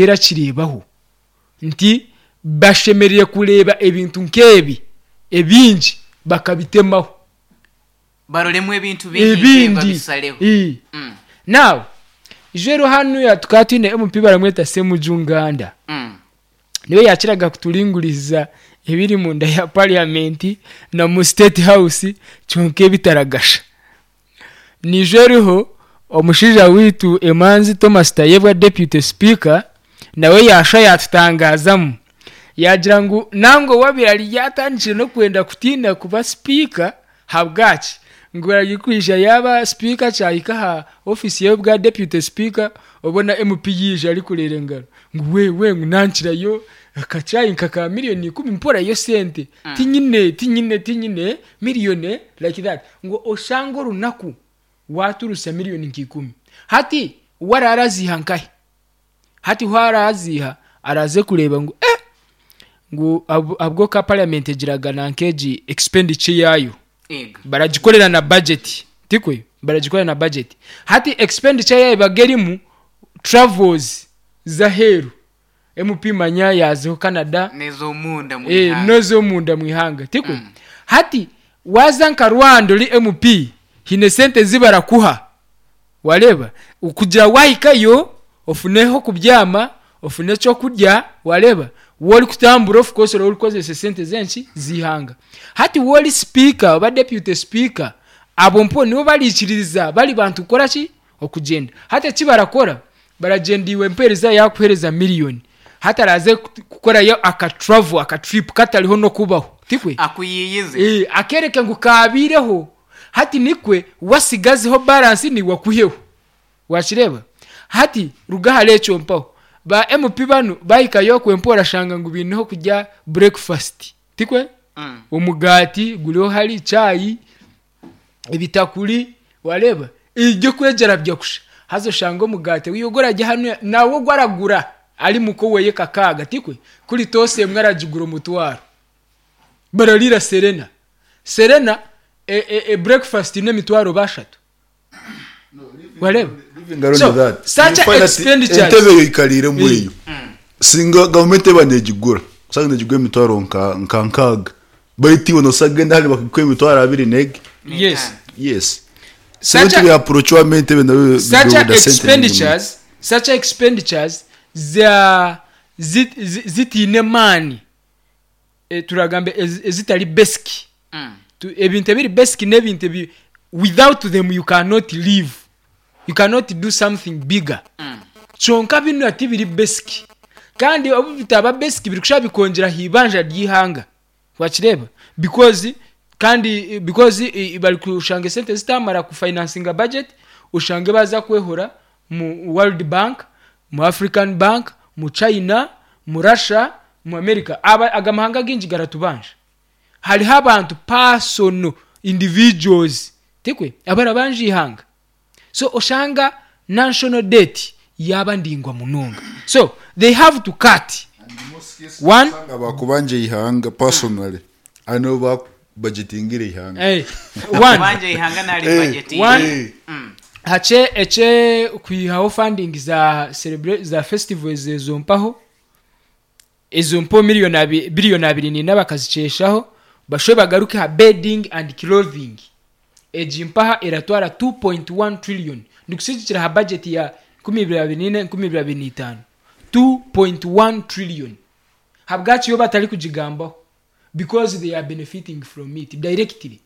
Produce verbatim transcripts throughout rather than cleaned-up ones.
Erakireebaho nti bashemereire kureeba ebintu nk'ebi ebingi bakabitemaho. Baroremu ebintu bingi nk'ebi Ebindi. babisareho. Ii. Mm. Now ijwero hanuya tukaba twine M P baramweta Semuju Nganda. Mm. Niwe yakiraga kuturinguriza ebiri munda ya parliament na mu State House, kyonka ebitaragasha. Niijo eriho omushaija waitu emanzi Thomas Tayebwa, deputy speaker, nawe yashwa yatutangazamu, yagira ngu nangwa wabire ari yatandikire n'okwenda kutiina kuba speaker. Habwaki? Ngu arikwija yaba speaker, kyahika aha office ye bwa deputy speaker, obona M P yiija arikureera engaro ngu wewe, ngu nankirayo akacayi nka ka miliyoni ikumi, mporayo sente, tinyine, tinyine, tinyine miliyoni like that, ngu oshange orunaku waturusa miliyoni nka ikumi. Hati wararaziha nkahe? Hati hwaraziha araze kureeba ngu eh ngu ab- abwo ka parliament egiraga nankegi expenditure yayo. Ego. Baragikorera na budget, tikwe? Baragikorera na budget. Hati expenditure yayo ebaga erimu travels z'aheeru, M P manya yazeho Canada. N'ez'omunda mu eh, ihanga. N'ez'omunda mu ihanga, tikwe? Hati waza nka Rwanda ori M P, hine sente zibarakuha, wareeba, kugira wahikayo ofuneho kubyama, ofune ekyokurya, wareeba, wori kutambura, of course ori kukozesa sente zenki? Z'ihanga. Hati wori speaker oba deputy speaker, abo mpo nibo barikiririza bari bantu kukora ki? Okugyenda. Hati eki barakora, baragyenda, iwe mpereza yakuhereza miliyoni, hati araze kukorayo aka travel, aka trip katariho n'okubaho, tikwe? Akuyiyize. Eh, akereke ngu kabiireho. Hati nikwe wasigazeho balance niwakuheho, wakireba? Hati ruga ahari ekyo mpaho ba M P banu bahikayo kwempa, orashanga ngu biineho kurya breakfast, tikwe? Mm. Omugati guriho, hari chai, ebitakuri, wareeba, ibyo kwegyera kusha. Haza oshanga omugati wiyo gurarya hanu nawe gwaragura ari muko weye kakaaga, tikwe? Kuri toast emwe aragigura omutwaro. Bararira Serena. Serena e, e, e breakfast n'emitwaro bashatu, wareeba? Living around So, that, such you find that expenditures. Entebe eyo ikariiremu eyo, singa gavumenti eba negigura, usanga negigura emitwaro nka nka nkaaga, baitu iwe nosagenda hali bakikuha emitwaro abiri nege. Yes. Yes. Such Such a- approachwamo entebe nayo. Such expenditures such expenditures za zi- zi- zitiine maani, e, turagambe ezi- ezitari basic. Mm. Tu- ebintu ebiri basic n'ebintu ebi without them you cannot live, you cannot do something bigger. Mm. Kyonka bino tibiri basic, kandi obu bitaba basic biri kushaba bikongera hibanja ry'ihanga, wakireba? Because kandi because i- bari kushanga esente zitamara kufinancinga budget, ushange baza kwehora mu World Bank, mu African Bank, mu China, mu Russia, mu America. Aba aga mahanga gingi garatubanja. Hariho abantu, personal individuals, tikwe, abarabanja ihanga. So oshanga national debt yaba ndingwa munonga, so they have to cut one. Bakubanje ihanga personally, ano ba budgetingire ihanga. Eh, one. Kubanja ihanga nari Eh, budget. One. Eh, Mm. Hache eche kwihaho funding za celebra- za festivals ezo mpaho, ezo mpo miliyoni abi- biliyoni abiri nina bakaziceshaho, bashobe bagaruke ha bedding and clothing. Egi mpaha eratwara two point one trillion, ndikusigikira ha budget ya nkumi ibiri abiri nina nkumi ibiri abiri n'itaano, two point one trillion. Habwaki yo batari kugigambaho? Because they are benefiting from it directly,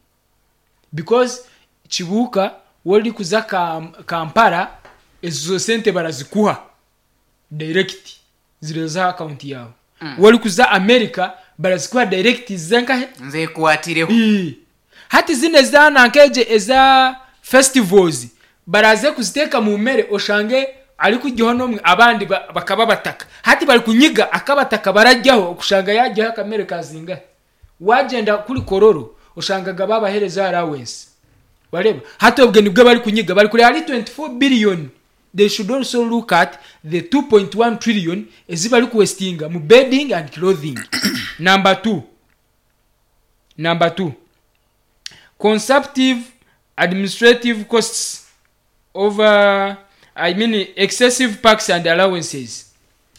because Kibuuka wori kuza Kam- kampala ezo sente barazikuha direct, zireza account yawe. mm. Wori kuza America, barazikuha direct zenkahe? Nzekwatireho. Ii. Hati zino ezanankeje eza festivals baraze kuziteeka mu mere, oshange ari kujyaho nomwe, abandi ba- bakaba bataka. Hati bari kunyiga akabataka barajyaho, okushanga yajyaho akamere kazingahe. Wagenda kuri Kororo, oshangaga babahereza allowance, wareba? Hati obwe nibwo bari kunyiga, bari kureba ari twenty-four billion. They should also look at the two point one trillion ezibari kuwastinga mu bedding and clothing. Number two, number two, consumptive administrative costs over, I mean, excessive perks and allowances.